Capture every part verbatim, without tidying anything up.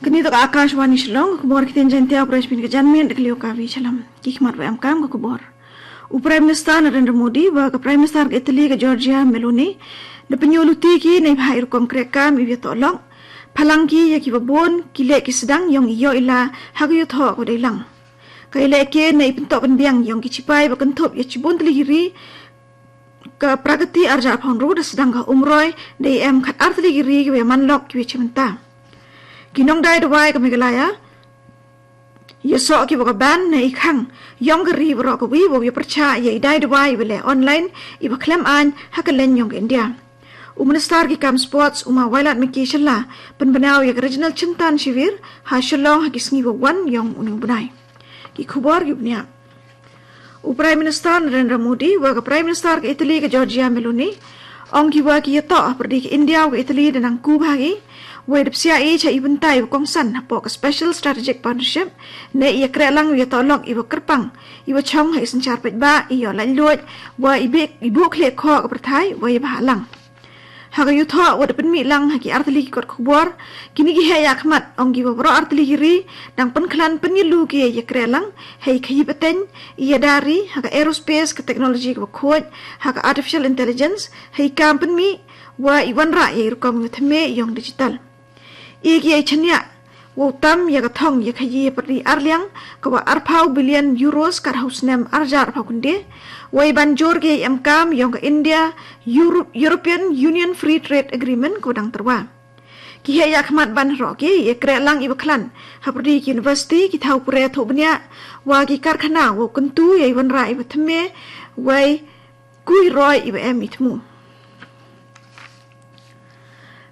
Kani toh ka Akashvani Shillong, ka khubor ktien Jaiñtia, u pyrshah pynka janmiet da ka liang ka Kavi Shylla. Ki khmat ba em kam ka khubor. U Prime Minister Narendra Modi bad ka Prime Minister ka Italy ka Giorgia Meloni da pynïoh luti ki na i bha i rukom kreh kam iba ïatoh lok, pynlang ki ïa kiba bun ki leh ki sdang ïong i ïoh i la ha ka ïathoh ka dei lang. Ka ïalehke na i pyntoh pynbiang ïong ki shipai ba kynthup ïa shibun tylli ki ri, ka Pragati arhajar arphew hynriew da sdang ka umroi da i em khatar tylli ki ri kiba ïaman lok kiba ïa chim bynta. Ki nongdai dawai ka Meghalaya ïasoh ki ba ka ban na i khang ïong ka ri baroh kawei ba ïa pyrshah ïa i dai dawai iba leh online iba khlem aiñ ha ka leng ïong ka India. U Minister ki kam sports u ma Wailadmiki Shylla pynbna ïa ka Regional Chintan Shivir ha Shillong ha ki sngi ba wan ïong une u bnai. Ki khubor ki bniah. U Prime Minister Narendra Modi bad ka Prime Minister ka Italy ka Giorgia Meloni ong ki ba ki ïatoh ha pyrdi ka India bad ka Italy da nang ku bha ki, wei da psiah i cha i bynta iba kongsan hapoh ka Special Strategic Partnership, ne ïa kreh lang ïa ïatoh lok iba kyrpang iba chong ha i synshar paidbah, i ïoh laitluid bad i bih i buh khlieh khoh ka pyrthai bad ïa bha lang. Ha ka ïathoh ba da pynmih lang ha ki artylli ki kot khubor, kine ki heh ïakhmat ong ki ba baroh artylli ki ri dang pynkhlaiñ pynïalu ki ïa kreh lang ha i khaïi pateng, i ïada ri, ha ka aerospace, ka technology kaba khuid, ha ka artificial intelligence, ha i kam pynmih bad i wanrah ïa i rukom ïathymmai ïong digital. I ki ïa i chaniah wow tam ïa ka thong ïa khaïi ha pyrdi arliang kaba arphew billion euros kat ha u snem arhajar arphew khyndai, wei ban jur ki ïa i em kam ïong ka India Europe, European Union Free Trade Agreement kaba dang tyrwa. Ki heh ïakhmat ban roh ki ïa kreh lang iba khlaiñ ha pyrdi ki university, ki thaw pule thuh bniah bad ki karkhana wow kyntu ïa i wanrah iba thymmai wei kui roi iba em i thmu.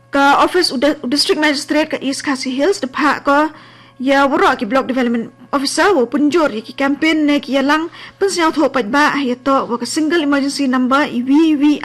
Ka office u, u District Magistrate ka East Khasi Hills da phah ko ïa waroh ki Block Development Officer wow pynjur ïa ki campaign ne ki ïalang pynsñiawthuh paidbah ha ïatoh wa ka Single Emergency Number, i V V I